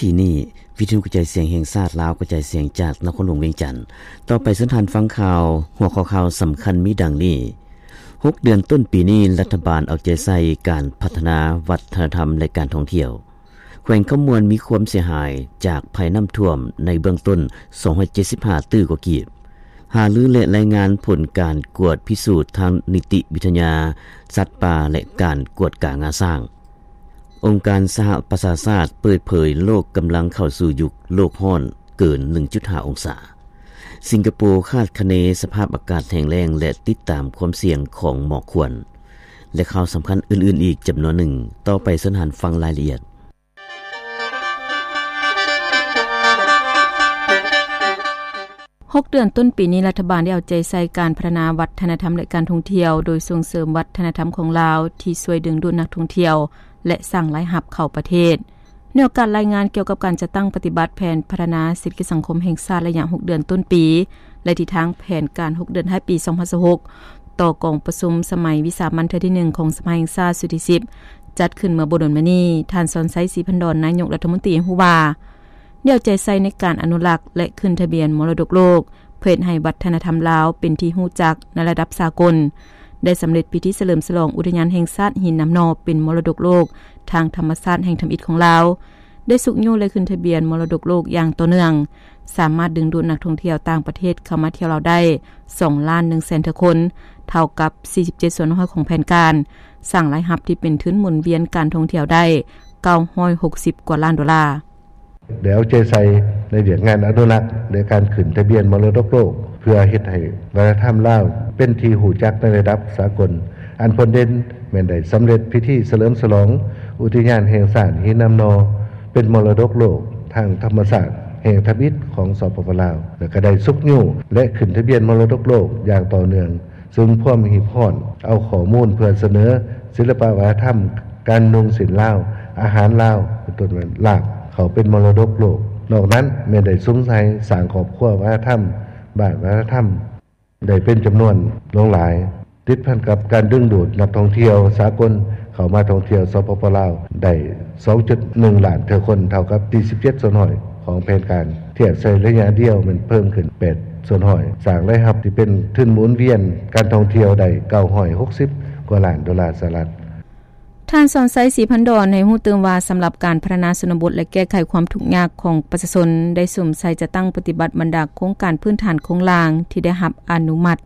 ທີ່ນີ້ ວິທະຍຸກະຈາຍສຽງແຫ່ງຊາດລາວ ກະຈາຍສຽງຈາກນະຄອນຫຼວງວຽງຈັນ. ຕໍ່ໄປເຊີນທ່ານຟັງຂ່າວ, ຫົວຂໍ້ຂ່າວສຳຄັນມີດັ່ງນີ້: ຫົກເດືອນຕົ້ນປີນີ້ ລັດຖະບານເອົາໃຈໃສ່ການພັດທະນາວັດທະນະທຳ ແລະ ການທ່ອງທ່ຽວ. ແຂວງຄຳມ່ວນມີຄວາມເສຍຫາຍຈາກໄພນ້ຳຖ້ວມໃນເບື້ອງຕົ້ນ ສອງຮ້ອຍເຈັດສິບຫ້າຕື້ກວ່າກີບ. ຫາລື ແລະ ລາຍງານຜົນການກວດພິສູດທາງນິຕິວິທະຍາສັດປ່າ ແລະ ການກວດກາງາຊ້າງ. ອົງການສະຫະປະຊາຊາດເປີດເຜີຍ ໂລກກຳລັງເຂົ້າສູ່ຍຸກໂລກຮ້ອນເກີນ ໜຶ່ງຈຸດຫ້າ ອົງສາ. ສິງກະໂປຄາດຄະເນສະພາບອາກາດແຫ້ງແລ້ງ ແລະ ຕິດຕາມຄວາມສ່ຽງຂອງໝອກຄວັນ ແລະ ຂ່າວສຳຄັນອື່ນໆອີກຈຳນວນໜຶ່ງ. ຕໍ່ໄປເຊີນທ່ານຟັງລາຍລະອຽດ. ຫົກເດືອນຕົ້ນປີນີ້ ລັດຖະບານໄດ້ເອົາໃຈໃສ່ການພັດທະນາວັດທະນະທຳ ແລະ ການທ່ອງທ່ຽວ ໂດຍສົ່ງເສີມວັດທະນະທຳຂອງລາວ ທີ່ຊ່ວຍດຶງດູດນັກທ່ອງທ່ຽວ ແລະ ສ້າງລາຍຮັບເຂົ້າປະເທດ. ໃນໂອກາດລາຍງານກ່ຽວກັບການຈັດຕັ້ງປະຕິບັດແຜນພັດທະນາເສດຖະກິດສັງຄົມແຫ່ງຊາດໄລຍະຫົກເດືອນຕົ້ນປີ ແລະ ທິດທາງແຜນການຫົກເດືອນທ້າຍປີ ສອງພັນຊາວຫົກ ຕໍ່ກອງປະຊຸມສະໄໝວິສາມັນເທື່ອທີໜຶ່ງຂອງສະພາແຫ່ງຊາດຊຸດທີສິບ ຈັດຂຶ້ນເມື່ອບໍ່ດົນມານີ້, ທ່ານ ສອນໄຊ ສີພັນດອນ ນາຍົກລັດຖະມົນຕີ ໃຫ້ຮູ້ວ່າ ແນວໃຈໃສ່ໃນການອະນຸລັກ ແລະ ຂຶ້ນທະບຽນມໍລະດົກໂລກ ເພື່ອເຮັດໃຫ້ວັດທະນະທຳລາວເປັນທີ່ຮູ້ຈັກໃນລະດັບສາກົນ, ໄດ້ສຳເລັດພິທີສະເຫຼີມສະຫຼອງອຸທະຍານແຫ່ງຊາດຫີນນ້ຳໜໍ່ເປັນມໍລະດົກໂລກທາງທຳມະຊາດແຫ່ງທຳອິດຂອງລາວ, ໄດ້ຊຸກຍູ້ ແລະ ຂຶ້ນທະບຽນມໍລະດົກໂລກຢ່າງຕໍ່ເນື່ອງ, ສາມາດດຶງດູດນັກທ່ອງທ່ຽວຕ່າງປະເທດເຂົ້າມາທ່ຽວລາວໄດ້ ສອງລ້ານໜຶ່ງແສນເທື່ອຄົນ, ເທົ່າກັບ ສີ່ສິບເຈັດສ່ວນຮ້ອຍຂອງແຜນການ, ສ້າງລາຍຮັບທີ່ເປັນທຶນໝູນວຽນການທ່ອງທ່ຽວໄດ້ ເກົ້າຮ້ອຍຫົກສິບກວ່າລ້ານໂດລາ. ໄດ້ເອົາໃຈໃສ່ໃນວຽກງານອະນຸລັກ ແລະ ການຂຶ້ນທະບຽນມໍລະດົກໂລກ ເພື່ອເຮັດໃຫ້ວັດທະນະທຳລາວເປັນທີ່ຮູ້ຈັກໃນລະດັບສາກົນ. ອັນພົ້ນເດັ່ນແມ່ນໄດ້ສຳເລັດພິທີສະເຫຼີມສະຫຼອງອຸທິຍານແຫ່ງຊາດຫີນນ້ຳໜໍ່ ເປັນມໍລະດົກໂລກທາງທຳມະຊາດແຫ່ງທຳອິດຂອງ ສປປ ລາວ ແລະ ກໍໄດ້ຊຸກຍູ້ ແລະ ຂຶ້ນທະບຽນມໍລະດົກໂລກຢ່າງຕໍ່ເນື່ອງ. ຊຶ່ງພວມຮີບຮ້ອນເອົາຂໍ້ມູນເພື່ອສະເໜີສິລະປະວັດທະນະທຳ, ການນຸ່ງສິ້ນລາວ, ອາຫານລາວ ເປັນຕົ້ນວ່າລາບ ເຂົ້າເປັນມໍລະດົກໂລກ. ນອກນັ້ນແມ່ນໄດ້ສຸມໃສ່ສ້າງຄອບຄົວວັດທະນະທຳ, ບ້ານວັດທະນະທຳ ໄດ້ເປັນຈຳນວນຫຼວງຫຼາຍ, ຕິດພັນກັບການດຶງດູດນັກທ່ອງທ່ຽວສາກົນເຂົ້າມາທ່ອງທ່ຽວ ສປປ ລາວ ໄດ້ ສອງຈຸດໜຶ່ງລ້ານເທື່ອຄົນ, ເທົ່າກັບ ສີ່ສິບເຈັດສ່ວນຮ້ອຍຂອງແຜນການ, ທຽບໃສ່ໄລຍະດຽວແມ່ນເພີ່ມຂຶ້ນ ແປດສ່ວນຮ້ອຍ, ສ້າງລາຍຮັບທີ່ເປັນທຶນໝູນວຽນການທ່ອງທ່ຽວໄດ້ ເກົ້າຮ້ອຍຫົກສິບກວ່າລ້ານໂດລາສະຫະລັດ. ທ່ານ ສອນໄຊ ສີພັນດອນ ໃຫ້ຮູ້ຕື່ມວ່າ ສຳລັບການພັດທະນາຊົນນະບົດ ແລະ ແກ້ໄຂຄວາມທຸກຍາກຂອງປະຊາຊົນ ໄດ້ສຸມໃສ່ຈັດຕັ້ງປະຕິບັດບັນດາໂຄງການພື້ນຖານໂຄງລ່າງທີ່ໄດ້ຮັບອະນຸມັດ